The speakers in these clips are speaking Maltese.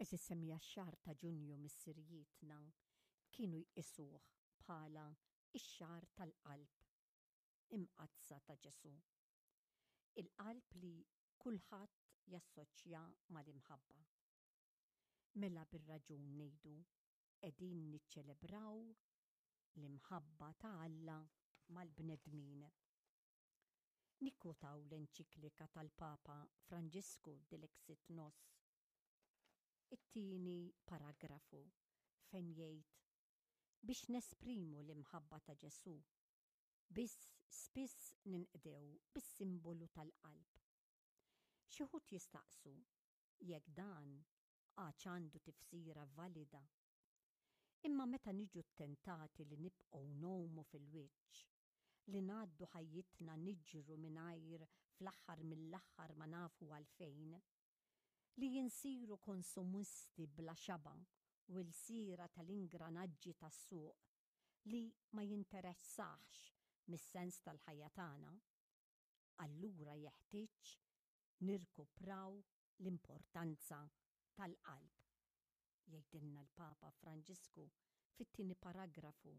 Għeżież semmiegħa x-xahar ta' Ġunju missirijietna kienu jqisuh bħala x-xahar tal-qalb imqaddsa ta' Ġesù. Il-qalb li kulħadd jassoċja mal-imħabba. Mela bir-raġun ngħidu qegħdin niċċelebraw l-imħabba ta' Alla mal-bnedmin. Nikkotaw l-enċiklika tal-Papa Franġisku Dilexit Nos, it-tieni paragrafu fejn jgħid biex nesprimu l-imħabba ta' Ġesù, biss spiss ninqdew bis-simbolu tal-qalb. Xi wħud jistaqsu jekk dan għadx għandu tifsira valida. Imma meta niġu ttentati li nibqgħu ngħumu fil-wiċċ, li ngħaddu ħajjitna niġru mingħajr fl-aħħar mill-aħħar ma nafu għalfejn, li insiru konsumisti bla xaba' u lsiera tal-ingranaġġi tas-suq li ma jinteressahx mis-sens tal-ħajja tagħna, allura jeħtieġ nirkupraw l-importanza tal-qalb, jgħidilna l-Papa Franġisku fit-tieni paragrafu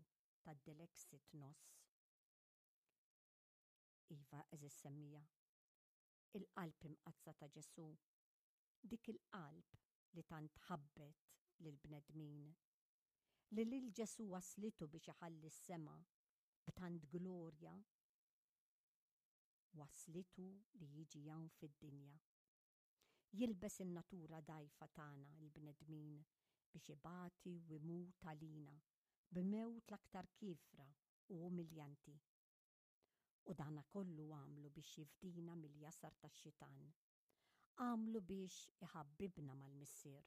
tad-Dilexit Nos. Iva, għeżież semmiegħa, il-qalb imqaddsa ta' Ġesù, dik il-qalb li tant ħabbet lill-bnedmin, li lil Ġesù wasslitu biex iħalli s-sema b'tant glorja, wasslitu li jiġi hawn fid-dinja. Jilbes in-natura dgħajfa tagħna l-bnedmin biex ibati u jmut għalina b'mewt l-aktar kiefra u umiljanti. U dana kollu għamlu biex jifdina mill-jasar tax-xitan. Għamlu biex iħabbibna mal-Missier.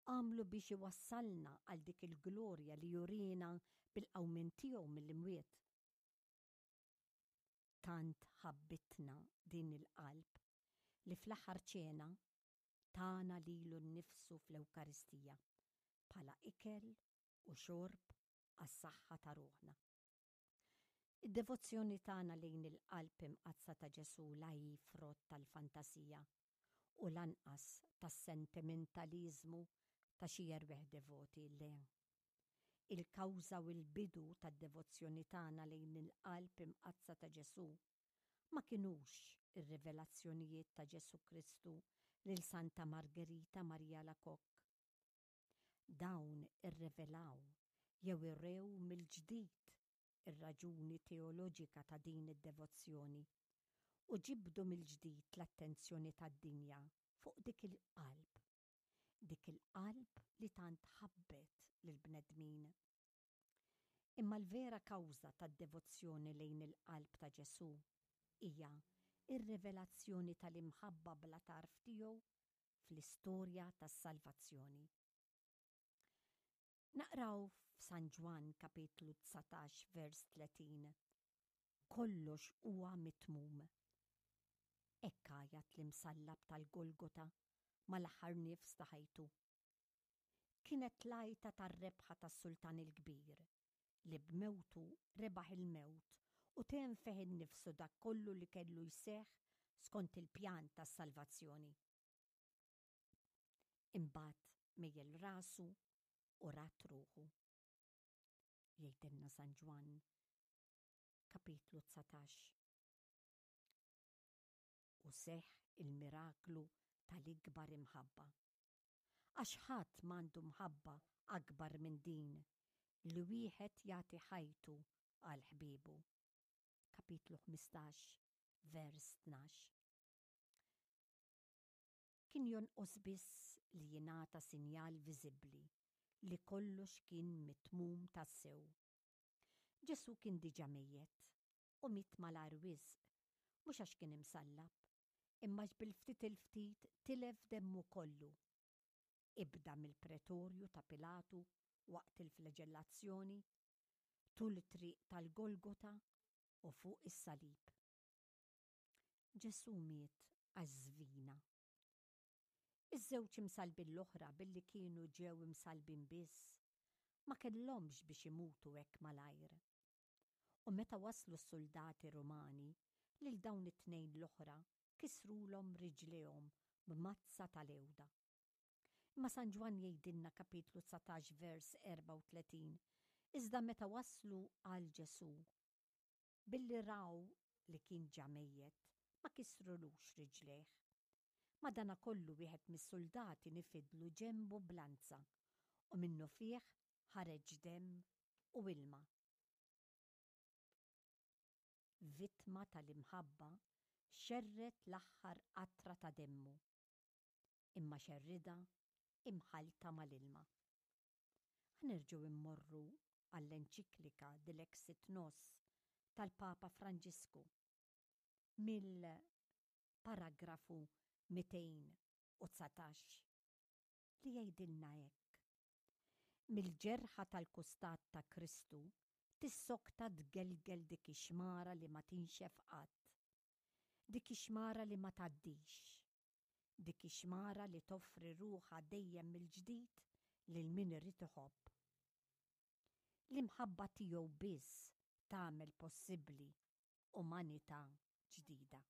Għamlu biex iwassalna għal dik il-glorja li jurina bil-qawmien tiegħu mill-imwiet. Tant ħabbitna din il-qalb li fl-aħħar ċena tana lilu nnifsu fl-Ewkaristija bħala ikel u xorb għas-saħħa ta' ruħna. Id-devozzjoni tagħna lejn il-Qalb Imqaddsa ta' Ġesù la hi frott tal-fantasija u lanqas tas-sentimentaliżmu ta' xi erwieħ devoti, le. Il-kawża u l-bidu tad-devozzjoni tagħna lejn il-Qalb Imqaddsa ta' Ġesù ma kinux ir-rivelazzjonijiet ta' Ġesù Kristu lil Santa Margherita Maria Alacoque. Dawn irrevelaw jew irew mill-ġdid ir-raġuni teoloġika ta' din id-devozzjoni u ġibdu mill-ġdid l-attenzjoni tad-dinja fuq dik il-qalb, dik il-qalb li tant ħabbet lill-bnedmin. Imma l-vera kawża tad-devozzjoni lejn il-qalb ta' Ġesù hija r-rivelazzjoni tal-imħabba bla tarf tiegħu fl-istorja tas-salvazzjoni. Naqraw f'San Ġwann kapitlu 19 vers 30, Kollox huwa mitmum. Hekk għajat l-imsallab tal-Golgota mal-aħħar nifs ta' ħajtu. Kienet l-għajta tar-rebħa tas-Sultan il-Kbir, li b'mewtu rebaħ il-mewt u temm fih innifsu dak kollu li kellu jseħħ skont il-pjan tas-salvazzjoni. Imbagħad mejjel rasu u rat ruħu. Jgħidilna San Ġwann, kapitlu 19. U seħħ il-miraklu tal-ikbar imħabba. Għax ħadd m'għandu mħabba akbar minn din li wieħed jagħti ħajtu għal ħbiebu. Kapitlu 15, vers 12. Kien jonqos biss li jingħata sinjal viżibbli li kollox kien mitmum tassew. Ġesù kien diġà mejjet u miet malajr wisq, mhux għax kien imsallab, imma għax bil-ftit il-ftit tilef demmu kollu. Ibda mill-pretorju ta' Pilatu waqt il-flaġellazzjoni, tul it-triq tal-Golgota u fuq is-salib. Ġesù miet għax żvina. Iż-żewġ imsallbin l-oħra billi kienu ġew imsallbin biss, ma kellhomx biex imutu hekk malajr. U meta waslu s-suldati Rumani, lil dawn it-tnejn l-oħra kisrulhom riġlejhom b'mazza tal-għewda. Imma San Ġwann jgħidilna kapitlu 19 vers 34, iżda meta waslu għal Ġesù, billi raw li kien ġa mejjet, ma kisrulux riġlejh. Madanakollu wieħed mis-suldati nifidlu ġenbu b'lanza, u minnufih ħareġ demm u ilma. Vittma tal-imħabba xerred l-aħħar qatra ta' demmu. Imma xerridha imħallta mal-ilma. Ħa nerġgħu mmorru għall-enċiklika Dilexit Nos tal-Papa Franġisku mill-paragrafu 219 li jgħidilna hekk, Mill-ġerħa tal-kustat ta' Kristu tissokta tgelgel dik ix-xmara li ma tinxef qatt, dik ix-xmara li ma tgħaddix, dik ix-xmara li toffri ruħha dejjem mill-ġdid lil min irid iħobb. L-imħabba tiegħu biss tagħmel possibbli umanità ġdida.